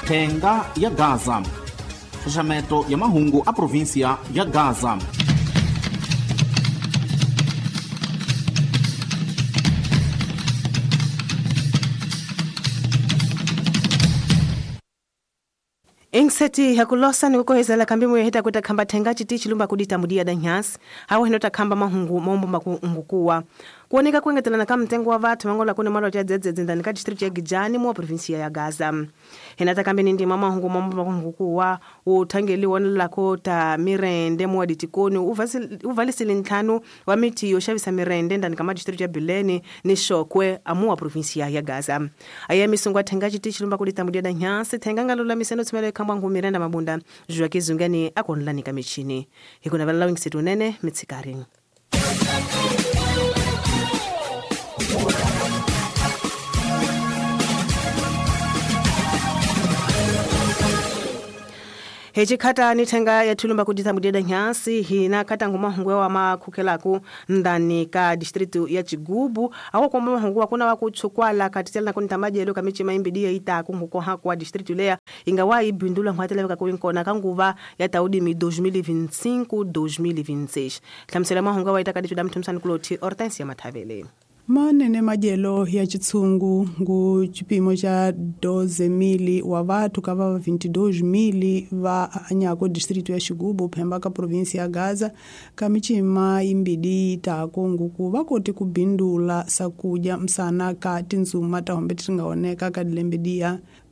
Thenga ya Gaza. Xaxameto ya mahungu a província ya Gaza. Ingiseti hakulosa ni kukohezela kambi moyo hita kuta khamba thenga chiti chilumba kudita mudia da nyasi hawo hino takhamba mahungu mombo makungukuwa kuoneka kuengetelana ka mtengo wa vathu mangola kune malo cha dzedzedze ndani ka district ya Gijani mu provinsia ya Gaza. Hina takambi ni ndima mahungu mombo makungukuwa uthangeli wona lako ta mirende mu aditikoni uvalisile ntlhanu wa miti yo xavisa mirende ndani ka ma district ya Bilene ni Shokwe amu wa provinsia ya Gaza. Aya misungwa thenga chiti chilumba kudita mudia da nyasi thenga ngalola miseno tshimele khamba ngumirenda mabunda jwa kizungani akonlani ka michini hikuna vala wingsetu nene mitsikari. Hechi khata ni thenga ya thulumba kudita mudeda nyasi hina khata ngoma hungwe wa makhukelaku ndani ka district ya Chigubu awo kwa mahungu wa kuna wakuchukwala katitela kunta majelo kamichi maimbidi ya ita kunguko hakwa district leya ingawa ibindula ngwatela ka kuinkona kanguva ya taudi mi 2025 2026 hlamsela mahungu wa ita kaditu damtumsani kuloti Hortensia Mathavele. Manene majelo ya chitsungu ngu chipimo cha 12,000 wa vathu ka va 22,000 va anyako distrito ya Xigubu phemba ka provinsi ya Gaza ka michima imbidi itako nguku va koti ku bindula sakudya msana ka tindzuma ta hombe ti nga oneka ka dilembe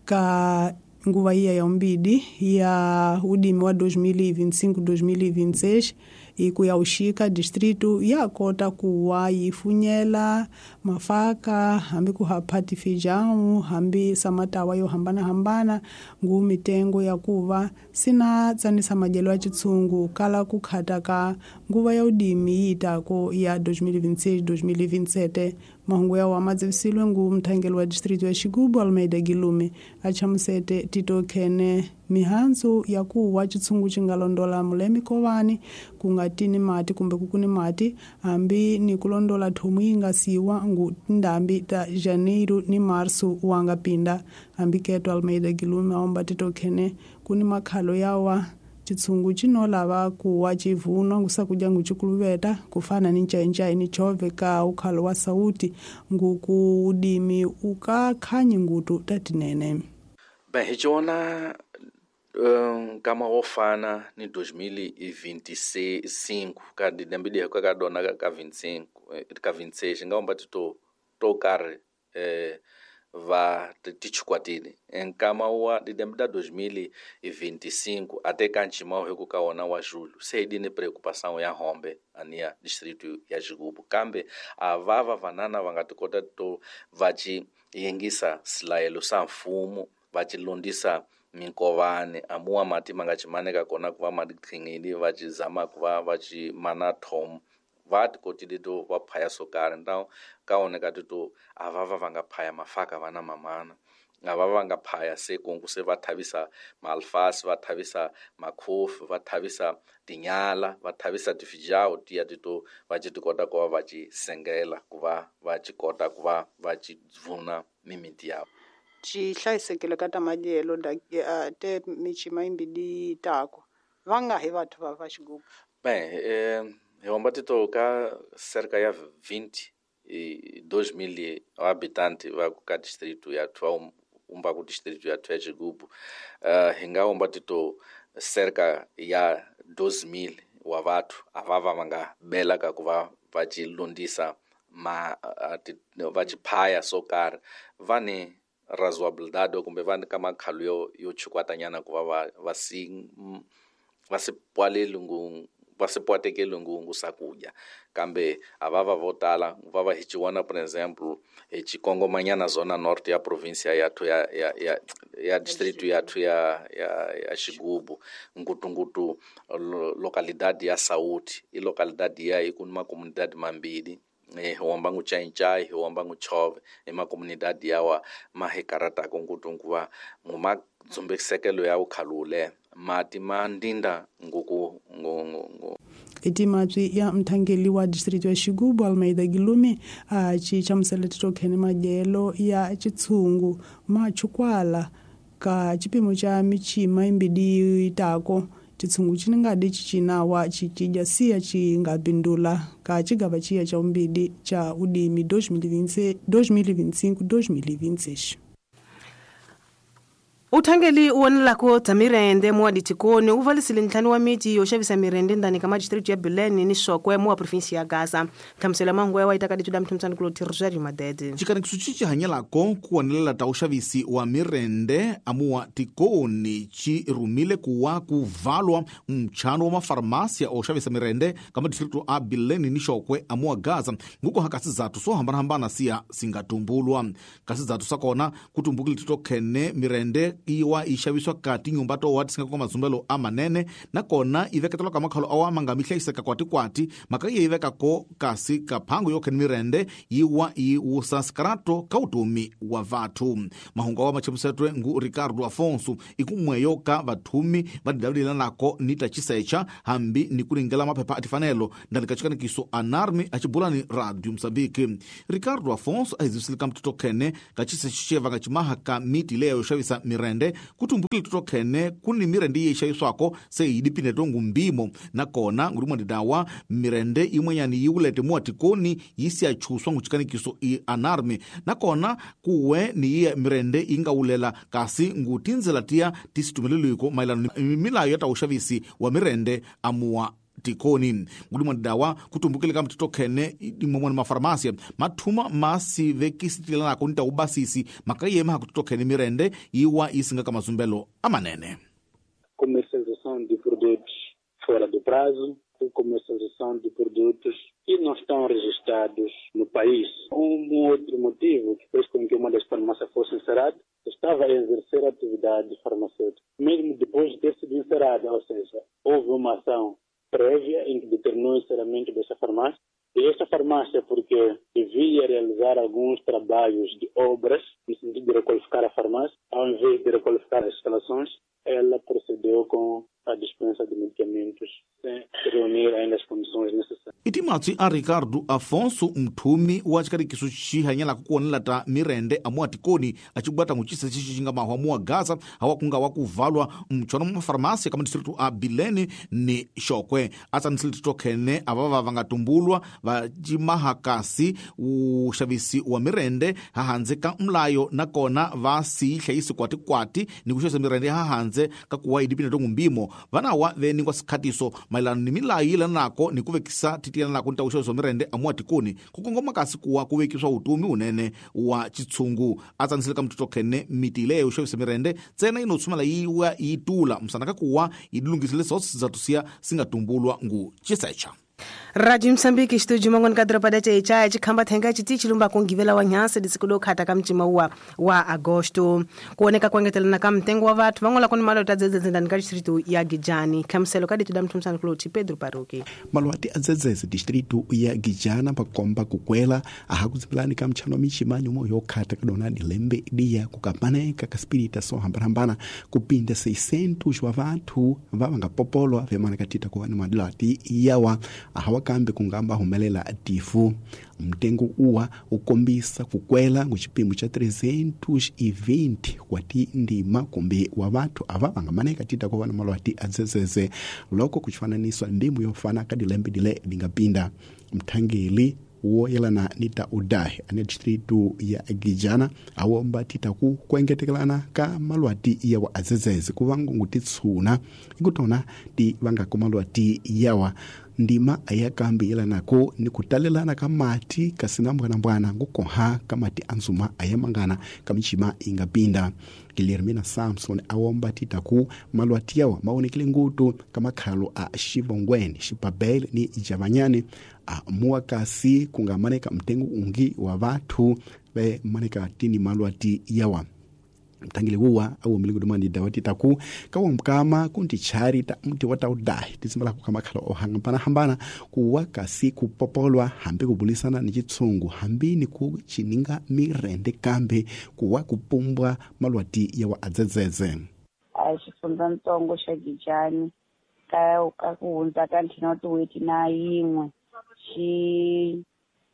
ka nguva iya ya umbidi ya udimi wa 2025-2026 iku ya uxika distrito ya kota kuwa yifunyela mafaka hambi ku haphati feijão hambi samatawa yo hambanahambana ngu mitengo ya kuva sina tsanisa madyelo ya chitsungu kala ku khata ka nguva ya udimi yiitako ya 2026-2027. Mahungu ya wama dzevisilwe ngu mthangeli wa distrito ya Xigubu Almeida Gilume a chamusete Tito Khene mihandzu ya kuwa chitsungu xi nga londola mulemi kovani ku nga tini mati kumbe ku kuni mati hambi ni ku londola thomu yi nga siwa ngu tindhambi ta Janeiro ni Marso wa nga pinda. Hambi keto Almeida Gilume aomba Tito Khene kuni makhalo yawa chitsungu chino lava kuwa chivunwa ngusakudya nguchikuluveta kufana ni ncaincayi ni chove ka ukhalo wa sauti nguku udimi ukakhanyi ngutu tatinene. Bem, hi ciona nkama wo fana ni 2025 ka dilembe ka ka dona ka 25 ka 26 nga omba to to karhi va tichikwatile nkama wa dilembe da 2025 até kanchima hi ku ka wona wa julho se hi dini preocupação ya hombe ania distrito ya Xigubu kambe a va va vanana va nga ti kota to va ci yingisa silayelo sa mfumo va ci londisa minkovani amuwa mati ma nga chimaneka kona ku va ma tiqhinghili va ci zama ku va va ci mana thom va ti kotile to va phaya swo karhi então ka oneka ti to a va va va nga phaya mafaka va na mamana a va va nga phaya se kungu se va thavisa maalfasi va thavisa makhofi va thavisa tinyala va thavisa tifijawu tiya ti to va ci ti kota ku va va ci sengela ku va va ci kota ku va va ci vuna mimiti yavo. Ci hlayisekile ka ta madyelo te michima yimbidi tako va nga hi vathu va va Xigubu. Bem, hi homba tito ka cerca ya 22,000 habitantes va ka distrito ya thwa umba ku distrito ya thwa Xigubu hi nga homba tito cerca ya 12,000 wa vathu a va va nga bela ka ku va va ci londisa ma va ci phaya swo karhi va ni razoabilidade kumbe va ka makhalo yo chukwatanyana ku va va si va si pwaleli ngu va si pwatekeli ngu sakudya kambe a va va vo tala va va hi ciwana por exemplo hi chikongomanyana zona norte ya província ya ya ya ya ya distrito ya ya ya ya Xigubu ngutungutu localidade ya Sauti i localidade ya ikuni ma comunidade mambili hi womba ngu Ncaincayi hi womba ngu Chove hi makomunidadi yawa ma hi karataka ngutungu va mu dzumbisekelo ya ukhalule mati ma ndinda nguku ngu etimatswi ya mthangeli wa distrito ya Xigubu Almeida Gilume a ci chamusela titokhene madyelo ya chitsungu ma chukwala Ka chipimo cha michima imbidi itako chitsungu chiningadi chichinawa chichidya siya chingapindula ka chigava chiya cha umbidi cha udimi 2025-2026. Uthangeli uwonelako dza mirende muwaditikoni u valisile ntlhanu wa miti yo xavisa mirende ndani ka madistritu ya Bilene ni Shokwe muwa provinsi ya Gaza. Nhlamuselo ya mahungu ya wa itaka dituda mthomtsani kulo Rosario Madede. Xikanikiso xi hanyelako ku wonelela ta uxavisi wa mirende amuwa tikoni xi rhumile kuwa ku valwa mchano wa mafarmasia o xavisa mirende ka madistritu a Bilene ni Shokwe amuwa Gaza nguko ha kasi zatu swo hambanahambana siya singatumbulwa. Kasi zatu swa kona ku tumbukile tito khene mirende iwa i xaviswa ka tinyumba to wa tisinga kwa mazumbelo a manene nakona i veketelwa ka makhalo awa manga mi hlayiseka kwatikwati mhaka yi vekako kasi ka phango yo khene mirende yiwa yi wusa sikarato ka utomi wa vathu. Mahungu awa machamusetwe ngu Ricardo Afonso ikumweyo ka vathumi va didavulelanako ni ta chisecha hambi ni ku ringela maphepha a tifanelo ndani ka chikanikiso anarmi a chibulani Radio Mozambique. Ricardo Afonso a hizivisile ka mtoto khene ka chisecha xevanga chimaha ka miti leyo yo xavisa mirende kutumbukile totokhene kuni mirende iye ixaviswako se yidipine tongu mbimo nakona ngulimwandidawa mirende imwenyani yiwulete muwatikoni yisiachuswa nguchikanikiso i anarmi nakona kuwe ni iye mirende ingawulela kasi ngutinzela tiya tisitumeleliwiko maelano ni milayo ya ta uxavisi wa mirende amuwa tikoni. Ngulimwandidawa kutumbukile ka mtoto khene imwemwani mafarmasia mathuma masivekisitilanako ni ta ubasisi makayema hakutoto khene mirende yiwa isinga ka mazumbelo amanene. Comercialização de produtos fora do prazo, comercialização de produtos que não estão registrados no país. Um outro motivo que fez com que uma das farmácias fosse encerrada estava a exercer atividade farmacêutica, mesmo depois de ter sido encerrada, ou seja, houve uma ação prévia em que determinou o encerramento dessa farmácia. E esta farmácia, porque devia realizar alguns trabalhos de obras, no sentido de requalificar a farmácia, ao invés de requalificar as instalações, ela procedeu com a dispensa de medicamentos sem reunir ainda as condições necessárias. Itimatsi a Ricardo Afonso mthumi wa chikarikiso xihanyelaka ku wonela ta mirende amuwa tikoni acibwata ngucisa xixi xi nga mahwa muwa Gaza hawa kunga wa ku valwa mchona mafarmasi ka madistritu a Bilene ni Shokwe. Atsanisile titokhene avava va nga tumbulwa va cimaha kasi uxavisi wa mirende hahandze ka mlayo nakona va si hlayisi kwatikwati ni ku xavisa mirende hahandze ka kuwa yidipine tongu mbimo vanawa veningwa sikhatiso mayelana ni milayo yilanako ni ku vekisa titilanako ni ta uxavisa mirende amuwa tikoni kukongoma kasi kuwa ku vekiswa utomi unene wa chitshungu. Atsanisile ka mtoto khene miti leyo uxavisa mirende ntsena yinotsumela yiwa yitula msana ka kuwa yidilungisile sosizatu siya singatumbulwa ngu chisecha. Radio Mozambique estúdio mangoni ka doroba da Chaichai chikhamba thenga chiti chilumba kungivela wa nyansi disiku khata ka mcima wa agosto kuoneka kuengetelana ka mtengo wa vathu van'wana kuni malo ta dzedzedze ndani ka distritu ya Gijani. Khamuselo ka dituda mthumsana kuloti Pedro Paruki. Malwati a dzedzedze distritu ya Gijana pakomba kukwela ahakudzipilani ka mchano michima nyumo yokhata kadona dilembe dia kukapaneka kaspirita so hambana kupinda 600 wa vathu vavangapopolwa vemana katita kuva ni malwati yawa ahawakambe kungamba humelela tifu. Mtengo uwa ukombisa kukwela nguchipimo cha 320 kwati ndima kumbe wa vathu ava vangamaneka tita kuva na malwati adzedzedze loko kuchifananiswa ndimu yofana kadilembe dile lingapinda. Mthangeli woyelana nita udahi ane distritu ya Gijana awomba tita ku kuengetekelana ka malwati yawa adzedzedze kuvangu ngutitsuna ikutona ti vangako malwati yawa ndima ayakambi yelanako ni kutalelana ka mati kasina mbwanambwana ngukoha kamati anzuma ayamangana kamichima ingapinda. Guilhermina Samson awomba titaku malwati yawa maonekele ngutu kamakhalo a Xivongweni, Xipabele ni Javanyane a muwakasi kungamaneka mtengo ungi wa vathu ve maneka tini malwati yawa. Mtangile wuwa awomile kudumani dawati taku kawa mkama kunti chari ta mti wata udahi tisimala kukamakhala ohangambana hambana kuwa kasi kupopolwa hambi kubulisana ni chitsungu hambi ni kuchininga mirende kambe kuwa kupumbwa malwati yawa adzedzedze. A xifundzatsongo xa Gijani ka ku hundza ka ntlhanu tin'hweti na yin'we xi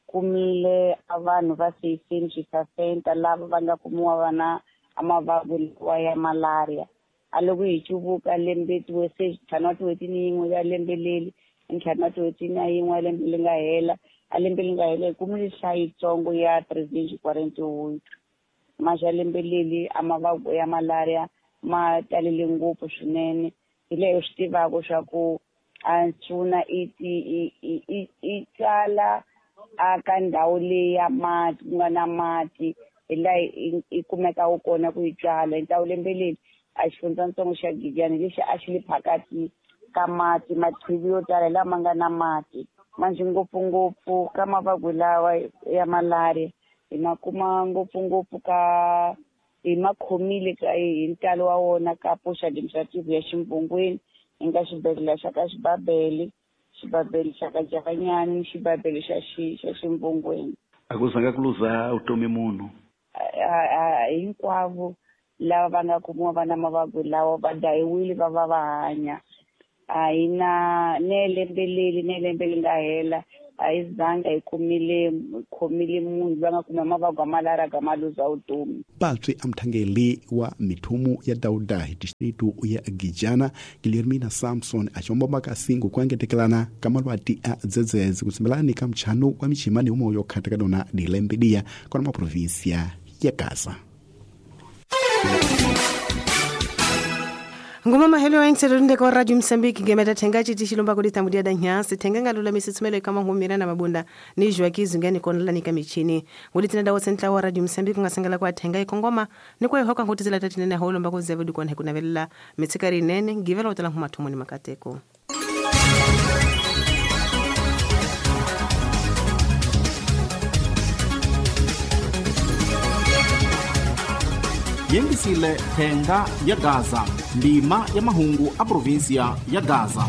kumile vanhu va 600 lava va nga kumiwa va na a mavabyi lawa ya malaria. A loko hi cuvuka lembe se ntlhanu wa tin'hweti ni yin'we ya lembe leri, ntlhanu wa tin'hweti na yin'we ya lembe leri nga hela, a lembe leri nga hela hi kumile nhlayo yitsongo ya 348. Maxa lembe leri a mavabyi ya malaria ma talele ngopfu swinene. Hi leyi u swi tivaka swa ku a nsuna i tsala a ka ndhawu leyi ya mati ku nga na mati, hi laha i kumekaka kona ku yi tswala. Hi ndhawu lembe leri a xifundzatsongo xa Giyani lexi a xi le phakati ka mati, machivi yo tala lama nga na mati. Manjhe ngopfungopfu ka mavabyi lawa ya malaria hi ma kuma ngopfungopfu ka hi ma khomile ka hi ntalo wa wona ka post administrative ya Ximbungwini, hi nga xibedhlele xa ka Xibabele, xibabele xa ka Javanyani, xibabele xa xa Ximbungwini. A ku zanga ku luza vutomi munhu? Hinkwavo lava va nga kumiwa va na mavabyi lawa va dayiwile va va va hanya. A hi na ne lembe leri ne lembe leri nga hela a hi zanga hi kumile khomile munhu loyi a nga kuma mavabyi ya malaria ka ma luza vutomi. Patswi a muthangeli wa mithumu ya Dauda hi distritu ya Gijana Guilhermina Samson a xomba kasingu ku engetekelana ka malwati a dzedzedze kutsimbelani ka mchano wa michimani umo yo khata ka dona dilembe diya kona ma provinsia ya Gaza. Ngoma mahelo ya ntsero kwa Radio Msambiki gemeta thenga chiti chilomba kuli tambudia da nyasi thenga ngalula misitsumelo kama ngumira na mabunda ni jwa kizungani konla nika michini nguli dawo sentla wa Radio Msambiki ngasengela kwa thenga ikongoma ni kwa hoka ngutizela tatinene holomba kuzevu dikon hekunavelela mitsikari nene ngivela utala humathumo ni makateko. Yengisile thenga ya Gaza, ndima ya mahungu a provinsia ya Gaza.